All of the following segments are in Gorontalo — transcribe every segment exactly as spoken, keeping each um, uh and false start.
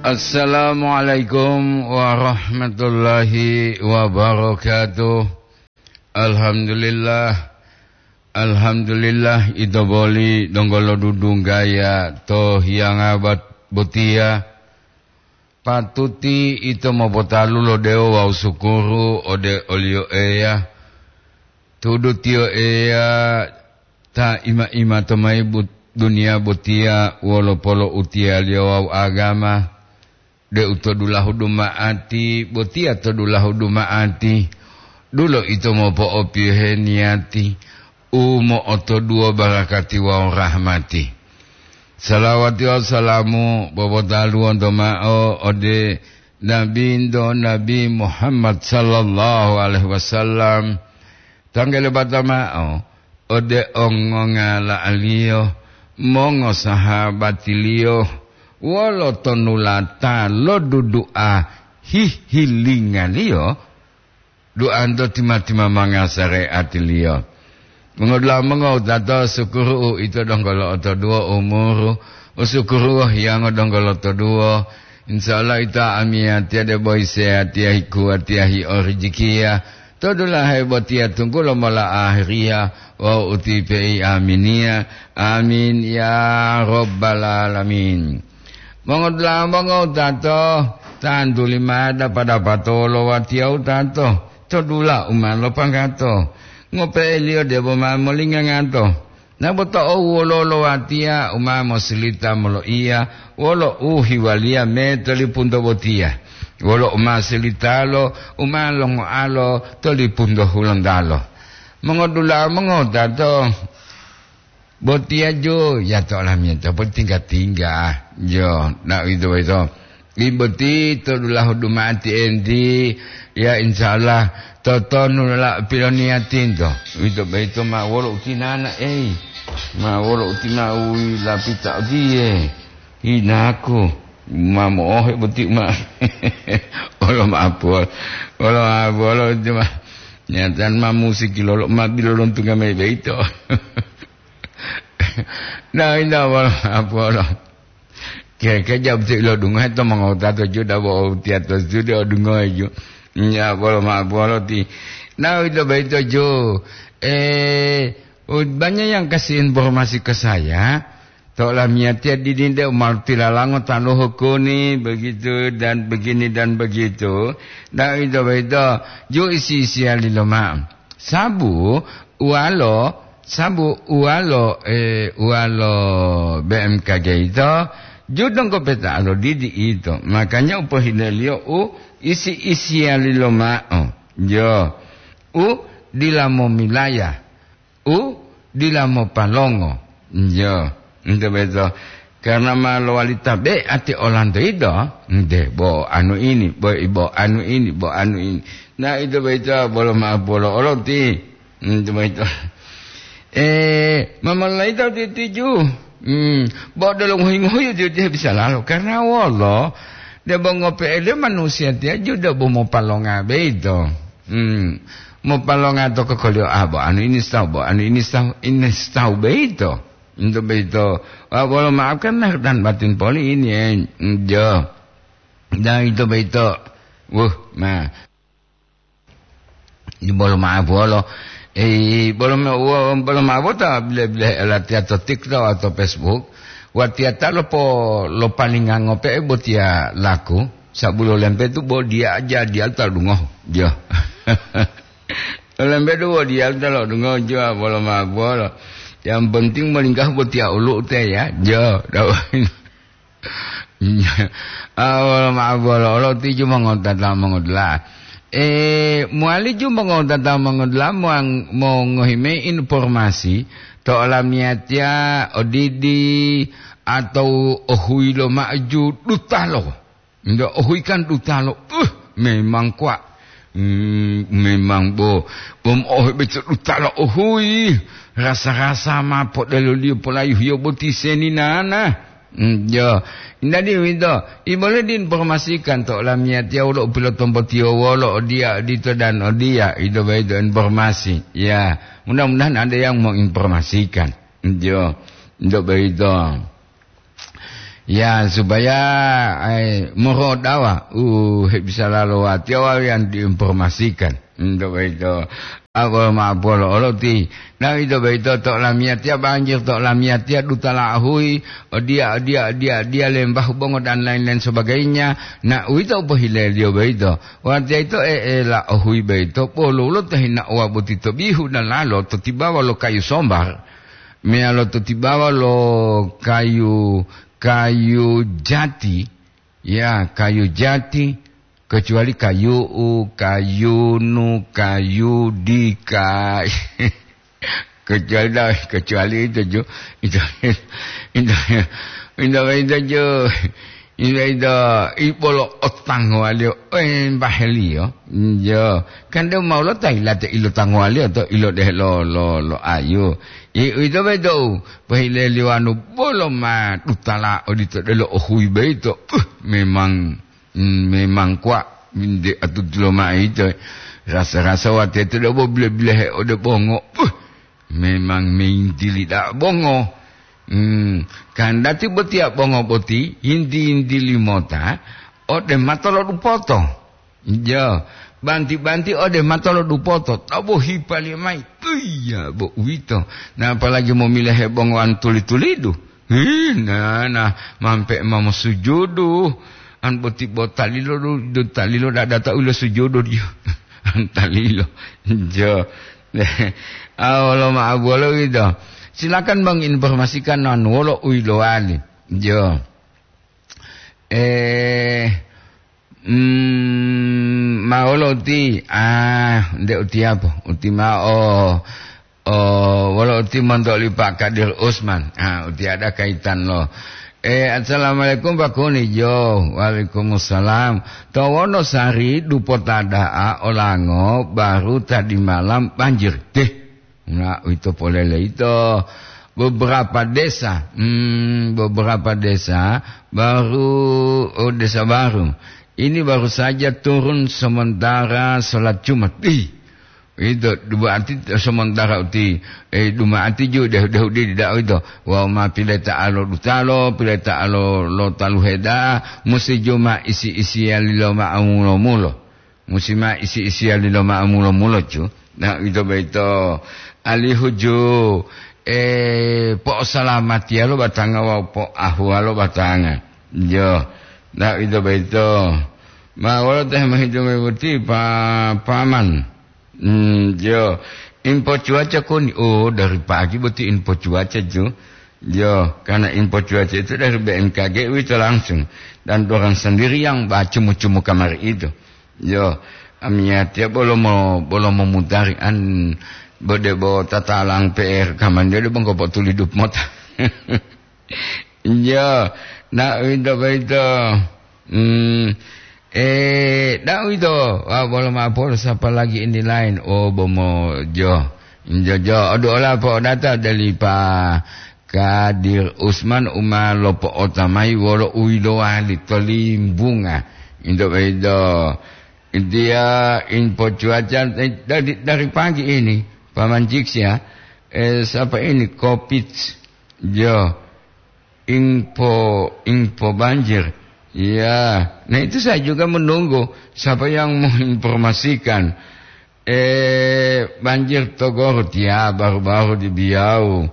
Assalamualaikum warahmatullahi wabarakatuh. Alhamdulillah. Alhamdulillah, ito boli donggo lodudunggaya to hiyanga bat-, botiya. Patuti ito mopotalu lo dewo wawu sukuru ode oliyo Eya. Tudu tiyo Eya ta ima-ima to mayi but-, duniya botiya wolo poloutiyaliyo wawu agama, deu to dulahu duma'ati, botiya to dulahu duma'ati, dulo ito mopo'opiyohe niyati u mo'otoduwo barakati wawu rahmati. Salawati wawu salamu popotaluwonto mao ode Nabinto Nabi Muhammad sallallahu alaihi wasallam, tanggele bata mao ode ongongala'aliyo, mongosahabatiliyo, wolo tonulata lo dudu'a hihilingaliyo, duanto tima-timamanga sareatiliyo. Mongodula'a mongowutato, sukuru'u ito donggo lo'otoduwo umuru, usukuru'u hiyango donggo lotoduwo. Insya Allah ito amiyatiya debo iseyatiya hikuwatiya hi'orijikiya. To dulahe botiya tunggulo mola ahiriya wawu utipe'i aminiya. Amin ya rabbal alamin. Mongodula'a mongowutato, tantuli ma dapa-dapato wolo watiya wutato to dula u ma lopanggato. Ngope'eliyo debo ma molingangato. Naboto owu wololo watiya u ma mosilita moloiya wolo u hiwaliya me to lipunto botiya, wolo u ma silitalo u ma longoalo to lipunto hulontalo. Mongodula'a mongowutato, botiya jo, ya to olamiyatiya potingga-tingga. Jo, na uwito boyito. Iboti to dulahu duma'ati enti, ya insya Allah, totonu la piloniyatinto. Uwito boyito ma wolo utinana, ei. Ma wolo uti ma uwi lapita odiye. Inaku, ma mo'ohe boti ma. Olo ma'apuwolo. Olo ma'apuwolo uti ma. Nyatan ma musiki lolo, ma bilolontunga mayi boyito. Na, inda wolo ma'apuwolo. Keke jabu ti ilodungohe to mongowutato ju dabo tiya to studio odungohe ju. Nya bolo ma'apuwolo ti. Na, uwito boyito ju. Eh, u-, banyak yang kasih informasi ke saya. To olamiyatiya didinde u ma tilalango taluhu kuni, begitu dan begini dan begitu. Na, uwito boyito ju isi-isiyali loma'o. Sabu uwalo, sabu uwalo, eh, uwalo B M K G ito, ju donggo peta lo didi ito. Makanya u pohileliyo u isi-isiyali loma'o. Jo, u dila momilaya, u dila mopalongo. Jo, ento beto. Karena ma lowali tabe'ati olanto yito, nte, bo anu ini, bo, bo anu ini, bo anu ini. Na, ito boyito bolo ma'apuwolo olo ti. Ito boyito. Eh, mamalaita titiju. Hmm, bo delo ngohi-ngohi tiyo, tiyo bisa lalo. Karena wolo, debo ngope'eliyo manusiya tiya ju debo mopalonga boyito. Hmm, mopalonga to kokoliyo, ah, bo anu ini sitawu, bo anu ini sitawu, ini sitawu boyito. Ito boyito, wa-, wolo maafkan lahir dan batin poli ini, eh, jo. Dan ito boyito, wuh, ma. Di bolo ma'apuwolo, eh, bolo ma-, wo-, bolo ma'apuwolo ta bile-bile latiya to TikTok atau Facebook, watiya ta lopo-, lopalinga ngope'e botiya laku, sabu lo lempetu bo diya aja diyalu ta dungohu, jo. Lo lempetu bo diyalu ta lo dungohu, jo, bolo ma'apuwolo. Yang penting molinggahu botiya olu'u te ya, jo. Ah, wolo ma'apuwolo olo ti ju mongotata mongodula'a. Eh, mowali ju mongotata mongodula'a moang-, mongohi mayi informasi to olamiyatiya odidi atau ohuyi loma'o ju dutalo. Nde ohuyi kan dutalo, uh, memang kuwa. Hmm, memang bo, bom ohe beto dutalo ohuyi. Rasa-rasa ma podeloliyo polayuhiyo boti seninana. Hmm, jo. Jadi uwito, i bole diinformasikan to olamiyatiya wolo u pilotombotiyo wolo odiya, odito dan odiya, ito boyito informasi. Ya, mudah-mudahan ada yang mau informasikan. Jo, ito boyito. Ya, supaya, eh, morodawa u hebisala lo watiya wawu yang diinformasikan. Ento boyito, abo ma'apolo olo ti, na ito boyito to lamiyatiya banjir, to lamiyatiya duta la'ahuyi, odiya, odiya, odiya, odiya, lembahu bongo dan lain-lain sebagainya. Na uwito u pohileliyo boyito. Watiya ito e'ela ohuyi boyito, polulo ta hinaowa boti to bihu dalalo to tibawa lo kayu sombar, meyalo to tibawa lo kayu, kayu jati, ya, kayu jati, kecuali kayu'u, kayunu, kayudi, ka-, kecuali da-, kecuali itu ju, itu, itu, itu, itu ju, itu, itu, ibolo otangowaliyo, eh, baheliyo, jo, kan de mau lo ta ilate ilo tangowaliyo to ilo deh lo, lo, lo ayu. I, itu bedo, pahileliyo anu bolo ma dutala odito delo ohui beito, uh, memang Hmm, memang kuwa, nde atutulo ma'o ito, rasa-rasa wateto debo bile-bilehe ode bongo. Puh, memang meyintili da'a bongo. Hmm, kandati botiya bongo boti yinti-yintili mota ode mato lo dupoto. Jo, banti-banti ode mato lo dupoto, tabo hipaliyo mayi. Iya, bo uwito. Na apalagi momilehe bongowan tuli-tulidu. Ih, nana, mampe ma mosujudu. An boti bo talilo du, du talilo dadata ulo sujudu diyo. An talilo. Jo. Ah, wolo ma'abuwolo gitu. Silakan Bang informasikan anu wolo u yilowali. Jo. Eh, mm, ma wolo uti, ah, nde utiyapo, uti ma'o, oh, wolo uti monto oli Pak Kadir Usman. Ah, uti ada kaitan lo. Eh, assalamualaikum Pak Kuni. Jo, waalaikumsalam. To Wonosari dupota da'a olango baru tadi malam banjir. Deh. Nah, ito polele ito beberapa desa, hmm, beberapa desa baru, oh, desa baru. Ini baru saja turun sementara sholat Jumat. Ih, itu berarti sementara uti, eh, duma'ati ju dehu-dehu di da'a itu. Wau ma pileta'alo dutalo, pileta'alo lo taluheda, musi juma isi-isiya lilo ma'amulo-mulo. Musi ma isi-isiyali lo ma'amulo-mulo, ju. Na, ito boyito alihu ju, eh, po'osalamatiya lo batanga wawu po'ahuwa lo batanga. Jo. Na, ito boyito. Ma wolo teh mohitu mebuti pa-, paman. Hmm, jo. Info cuaca koni. Oh, dari pagi boti info cuaca, ju. Jo, karena info cuaca itu dari B M K G itu langsung. Dan orang sendiri yang baca mucu-mucu kamari itu. Yo, amiyatiya bolo mo-, bolo momutari an bode bo tatalang P R kaman de bongko potulidu mota. Yo, na uwito boyito. Hmm, eh, na uwito, wa bolo ma'o polo sapa lagi ini lain. Oh, bomo jo. Jo, jo, odu ola po data dali pa Kadir Usman u ma lopo'ota mayi wolo u yilowali to Limbunga. Into boyito, intiya info cuaca, eh, dari, dari pagi ini, Paman Jiks ya, eh, siapa ini, Covid, jo, info, info banjir. Ya, nah itu saya juga menunggu siapa yang menginformasikan. Eh, banjir to Gorut, ya, baru-baru di Biau.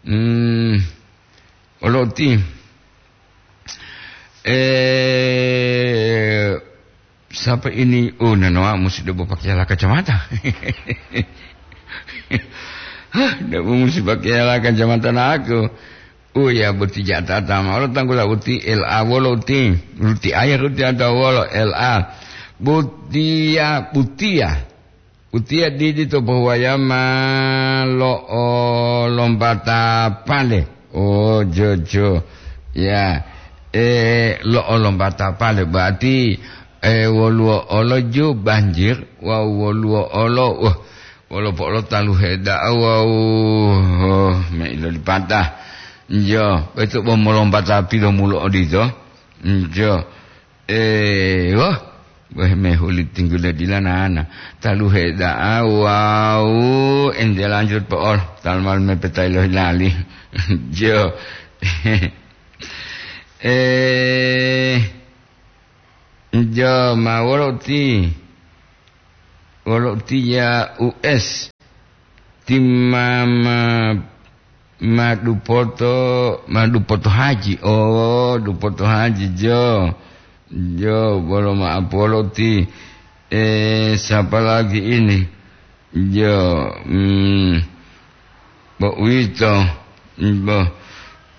Hmm, olo uti. Eh, siapa ini? Oh, nanoa musti debo pakai ala kacamata. Hah, debo musti pakai ala kacamata na aku. Oh ya, boti jatata ma. Olo tanggula uti L A wolo uti. Uti air uti ada wolo L A. Butia, butia. Utiya didi to pohuwaya ma lo'o lombata pale. Oh, jojo. Ya, eh, lo'o lombata pale. Berarti, eh, woluwo olo ju banjir, wawu woluwo olo, wah, wolo po'olo taluhe da'a wawu, oh, me ilolipata. Njo, betu bo molombata pilomulo odito. Njo. Eh, wah, weh, mehuli tinggule dila nana. Taluhe da'a wawu ente lanjut po'ol. Talmal mepeta ilohi lali. Jo. Eh, jo ma wolo ti, wolo ti ya U S, ti ma, ma, ma dupoto, ma dupoto haji. Oh, dupoto haji, jo. Jo, bolo ma apolo ti, eh, siapa lagi ini? Jo, hmm, bo uwito, bo,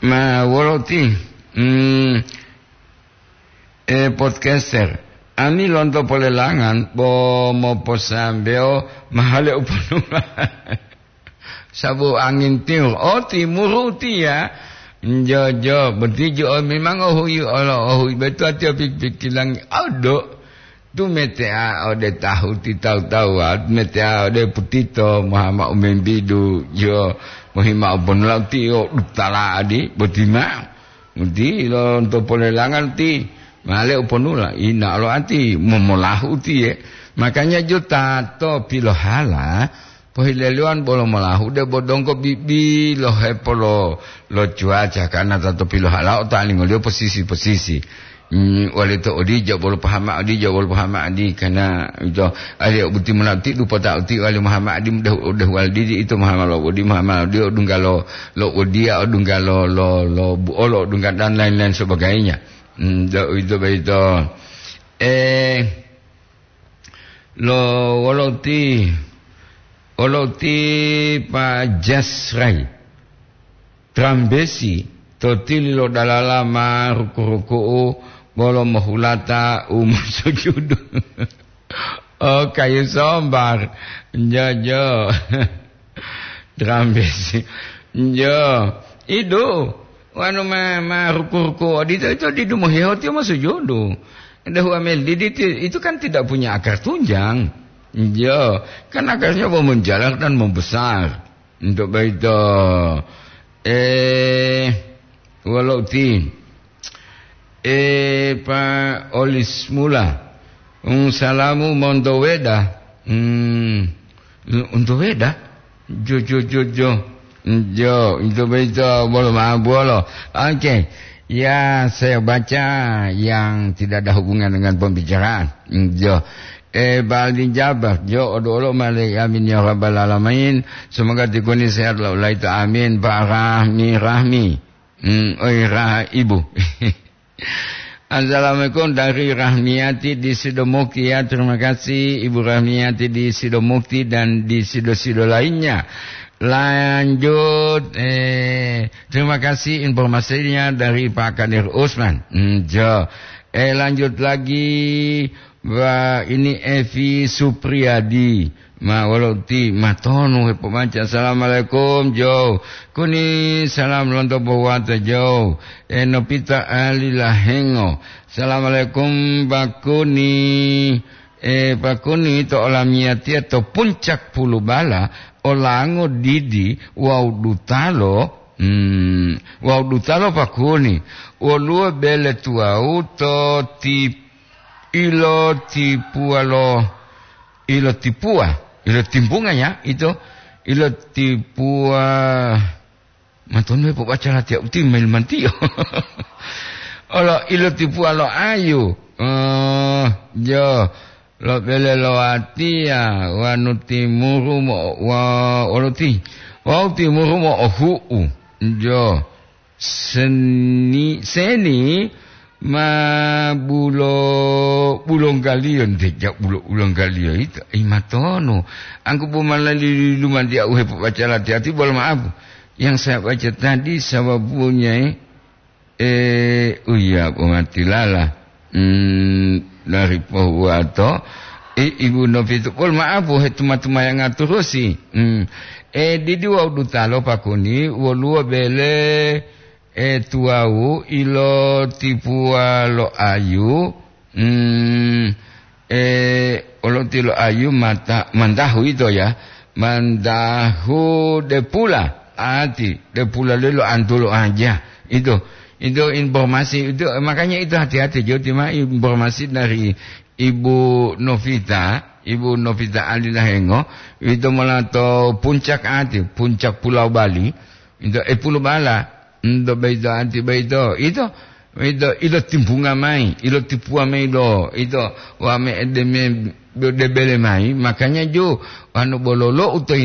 ma wolo ti, hmm, eh, podcaster. Ami lonto polelangan, bo moposambewo mahale uponula. Sabu angin timur. Oh, timuru tiya. Njo, jo, boti jo, memang ohui olo, ohui betua tiyo pik-, pikilangi. Odo, tu metea ode tahu ti tawu-tawuwa, metea ode putito, mohama umembidu, jo, mohima oponula tiyo, dutala adi, boti ma. Uti lonto polelangan ti, male uponula, ina lo ati, momolahu tiye. Makanya jo tato pilohala, pohileliwan bolo molahu, debo donggo bibi lo hepolo lo cuaca, karena tato pilohala otalingoliyo posisi-posisi. Hmm, wali to odijo bolo pahama odijo bolo pahama adi, karena ito, ali buti mona ti dupota uti wali Muhammad adi mudah, udah wali didi ito Muhammad lo odi Muhammad odi odungga lo, lo odiya odungga lo, lo, lo buolo odungga dan lain-lain sebagainya. Hmm, do, ito baito. Eh, lo wolo ti, wolo ti Pak Jasrai. Trambesi to tili lo dalala ma ruku-ruku'u bolo mohulata u mosujudu. Oh, kayu sombar. Njo, njo. Trambesi. Njo. Idu. Wanu ma, ma ruku-ruku odito, itu didu mohiho tiyo mosujudu. Dahu amel didi ti-, itu kan tidak punya akar tunjang. Njo. Kan akarnya mau menjalar dan membesar. Untuk baito, eh, wolo uti. Eh, Pak Olis Mula. Hmm, salamu monto weda. Hmm, untuk weda? Jo, jo, jo, jo. Jo, untuk baito, bolo, maaf, bolo. Oke. Ya, saya baca yang tidak ada hubungan dengan pembicaraan. Jo. Eh, Baldi Jabar, jo, odo olo male, amin ya rabbal alamin. Semoga tikuni sehat lo laito, amin. Pak Rahmi, Rahmi. Hmm, oi, Rah-, Ibu. Assalamualaikum dari Rahmiati di Sidomukti, ya. Terima kasih Ibu Rahmiati di Sidomukti dan di Sido-Sido lainnya. Lanjut, eh, terima kasih informasinya dari Pak Kadir Usman. Hmm, jo. Eh, lanjut lagi. Wah, ini Evi Supriyadi. Ma wolo ti matonu hepobaca. Assalamualaikum, Jo. Kuni salam lonto Bowata, Jo. E, Nopita Ali Lahengo. Assalamualaikum, Pak Kuni. E, Pak Kuni to olamiyatiya to puncak Pulubala, olango didi wawu dutalo. Hmm, wawu dutalo Pak Kuni. Woluwo bele tuwawu to ti Ilotipuwa lo, ilotipuwa, ilotimbunga ya, ito, ilotipuwa, matonu pobaca latiya uti mailmantiyo. Olo ilotipuwa lo ayu, eh, jo, lo bele lo watiya, wanu timuru mo, wa, olo ti, wau timuru mo ohu'u, jo. Seni, seni ma bulo, bulonggaliyo, nte ja bulo, bulonggaliyo ito, i matono. Angku bo malali lumanti au hepobaca lati-lati, bolo maaf. Yang saya baca tadi sababunya, eh, eh, oh iya, bo matilala. Hmm, dari pohuwato, i-, Ibu Novitu, pol maaf, he tuma-tumayanga turusi. Hmm. Eh, didi wawu dutalo pakuni, woluwo bele, eh, tuwawu ilotipuwa lo ayu, hmm, eh, oloti lo ayu mata, mandahu ito ya, mandahu depula, ati depula lelo antulo aja. Itu, itu informasi itu, makanya itu hati-hati, jo, terima informasi dari Ibu Novita, Ibu Novita Ali Lahengo, itu mola to puncak ati, puncak Pulau Bali, itu, eh, Pulau Bala, itu beito ati beito, itu, ito, ito timbunga mayi, ito tipuwa mayi lo, ito wa me edeme debele mayi, makanya jo, anu bololo uto